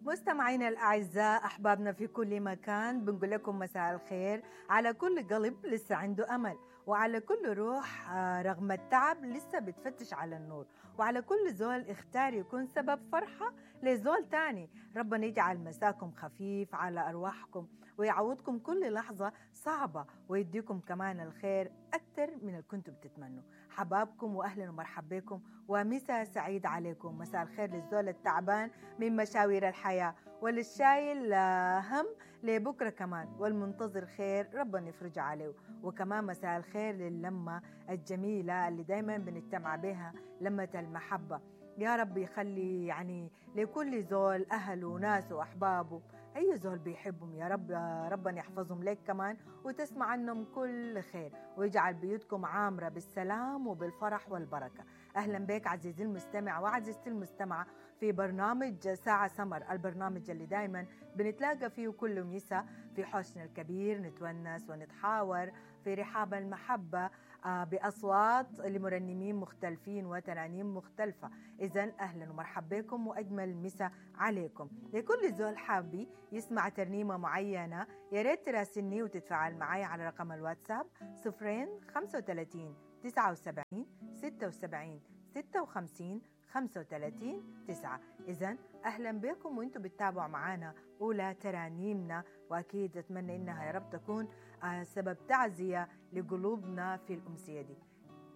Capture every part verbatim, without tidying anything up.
مستمعينا الأعزاء، أحبابنا في كل مكان، بنقول لكم مساء الخير على كل قلب لسه عنده أمل، وعلى كل روح آه، رغم التعب لسه بتفتش على النور، وعلى كل زول اختار يكون سبب فرحة لزول تاني. ربنا يجعل مساكم خفيف على أرواحكم ويعوضكم كل لحظة صعبة ويديكم كمان الخير أكثر من اللي كنتم بتتمنوا. حبابكم وأهلا ومرحبا بكم، ومساء سعيد عليكم. مساء الخير للزول التعبان من مشاوير الحياة، وللشايل آه، هم لبكرة كمان، والمنتظر خير ربنا يفرج عليه. وكمان مساء الخير للمة الجميلة اللي دايما بنجتمع بها، لمة المحبة. يا رب يخلي يعني لكل زول أهله وناسه وأحبابه، أي زول بيحبهم يا رب ربنا يحفظهم لك كمان، وتسمع عنهم كل خير، ويجعل بيوتكم عامرة بالسلام وبالفرح والبركة. أهلا بك عزيزي المستمع وعزيزتي المستمعة في برنامج ساعة سمر، البرنامج اللي دايما بنتلاقى فيه كل مساء في حوشنا الكبير، نتونس ونتحاور في رحاب المحبة آه، بأصوات لمرنمين مختلفين وترانيم مختلفة. إذا أهلا ومرحبا بكم وأجمل مساء عليكم. لكل زول حابي يسمع ترنيمة معينة يا ريت تراسلني وتتفاعل معي على رقم الواتساب صفرين خمسة وثلاثين تسعة وسبعين ستة وسبعين ستة وخمسين خمسة وثلاثين تسعة. إذن أهلا بكم وانتم بتتابعوا معانا أولى ترانيمنا، وأكيد أتمنى إنها يا رب تكون آه، سبب تعزية لقلوبنا في الأمسية دي.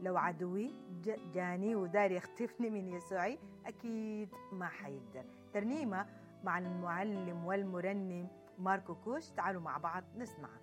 لو عدوي ج- جاني وداري يختفني من يسوعي أكيد ما حيقدر. ترنيمة مع المعلم والمرنم ماركو كوش، تعالوا مع بعض نسمعها.